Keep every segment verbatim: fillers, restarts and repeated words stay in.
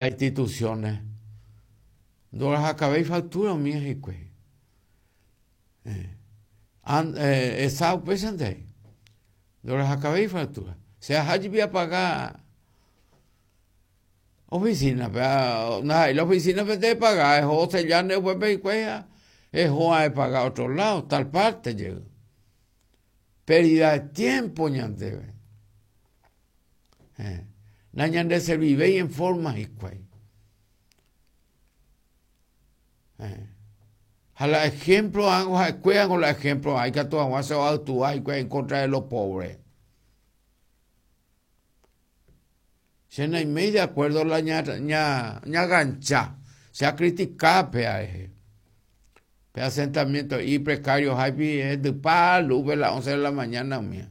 Instituciones ndorahakavéi factura umi hikuái. Eh, eh, esa upéichante ndorahakavéi factura. Che ahájepi apaga oficina-pe, ndaha'éi la oficina-pe ndepaga, eho osellánte upépe hikuái ha eho aepaga otro lado, tal parte jey. Pérdida de tiempo ñandéve. Eh, nañandeservivéi en forma hikuái. Eh. Ha la ejemplo hago ha'ekuérango la ejemplo ikatu hag̃ua se oactúa hikuái en contra de los pobres. Che naiméi de acuerdo la ña, ña, ñagancha, che acritica péa rehe. Pe asentamiento y precario háipi hendypa luz las once de la mañana umía.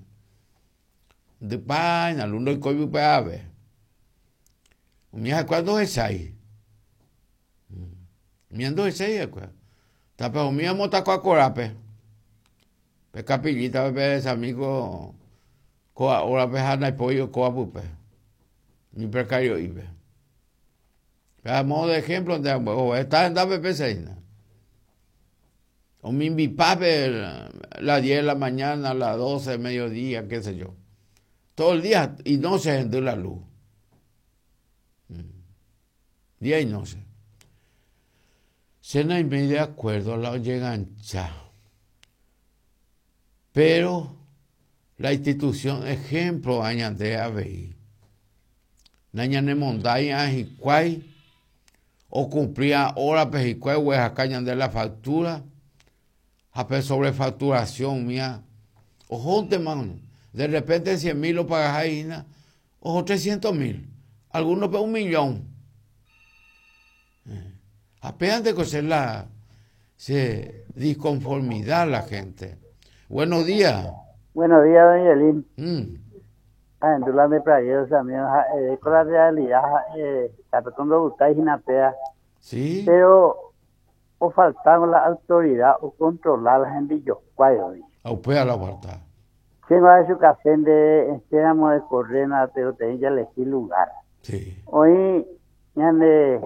Hendypa la luz ndoikói pype ave. Umi ha'ekuéra ndohechái. Umía ndohechái ha'ekuéra. Tape umi omotakua korápe. Pe capillita pe sami ko kóa hórape ha ndaipói oikóva pype. Umi precario'ípe. A modo de ejemplo nde está hendápe péicha hína. Omimbipápe las diez de la mañana, las doce, mediodía, qué sé yo. Todo el día y noche hendy la luz. Día y noche. Che naiméi de acuerdo la ojegancha. Pero la institución ejemplo ñande avei. Nañanemondái hikuái ocumplía horape hikuái oguerahaka ñande la factura ha pe sobrefacturación mía ohóntema de repente cien mil opagaha hína oho trescientos mil, algunos pe un millón. Eh. Ha péante ko che la se disconformidad la gente. Buenos días. Buenos días, doña Elin. Mm. Ah, en de Pragueo también, eh, con la realidad, eh, la Sí. Pero o faltaba la autoridad o controlar la gente yo cuál. A usted la falta. Sí, va a su café de esperamos de correr, pero tenía que elegir lugar. Sí. Hoy, ñande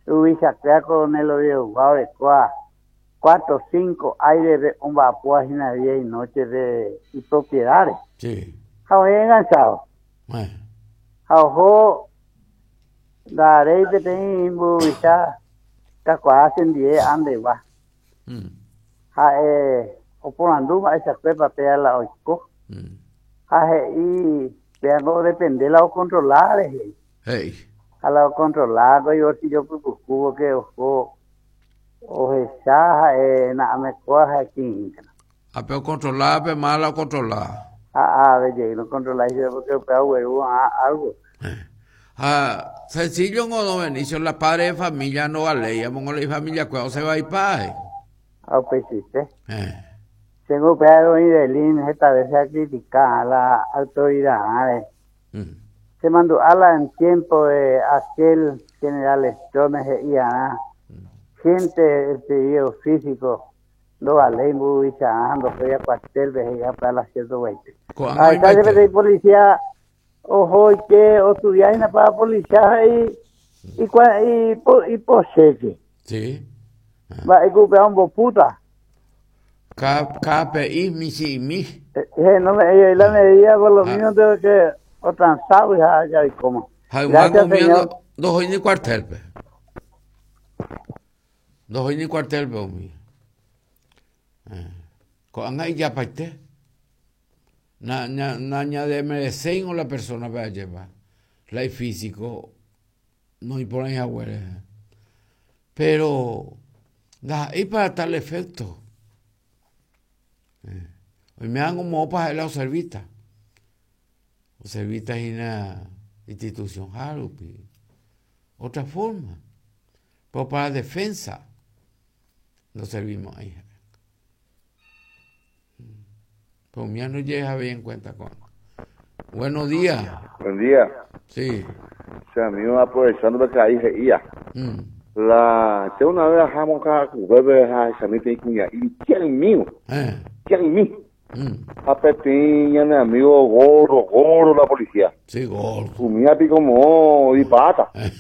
ubica con el oído de cuatro, cinco aire de un vapor día y noche de y propiedades. Sí. Hoy enganchado. Eh. Ojo, daré peteĩ mburuvicha kakuaa chendie andegua. Mm. Ha'e oporandu mba'eichakuépa péa la oiko. Mm. Ha he'i péa depende la ocontrolar rehe. Hey. Ha la ocontrolar ibolsillo pypuku porque oho ohecha ha'e na'amekóa ha'e. Ha pe ocontrolar pe má la ocontrolar. Ah, ah, de no controlar porque upéva ogueru algo. Eh. Ha sencillo no don Benicio, la padre de familia no vale, la familia cuando se va y pae. Ah, pues sí, sí. Eh. Tengo upéva Idelín esta vez se ha criticado a la autoridad. Mm. Se mandó a la en tiempo de aquel general Stroessner y a gente el pedido físico no vale mburuvicha ando fue a cuartel veía para las ciento veinte. Ah, está de policía ojo que o estudiar para policía y y y y, y poseque. Sí. Va a un puta. K KPI mi si mi. Eh, no me la medida por lo menos tengo que o transado ya ya y cómo. Gracias, señor. Dos ni cuartel pe. Dos ni cuartel pe umi. Ko'ág̃a ijapaite. Na na na ñademerecéi la persona pe ajépa. La físico no iporãi haguére. Pero ndaha'éi para tal efecto. Eh. Oime'ãngo moõpa ha'e la oservíta. Oservíta hína institución rupi. Otra forma. Pero para defensa no servimos ahí. Pero mía no llega bien en cuenta con. Buenos días. Buen día. Sí. O sea, a mí aprovechando que ahí reía. Mm. La, che una vez bajamos acá, bebé, a mí te cuña, y ¿quién mío? Eh. ¿Quién mío? Mm. A Petín, mi amigo gordo, gordo la policía. Sí, gordo. Comía pico como y pata. Eh.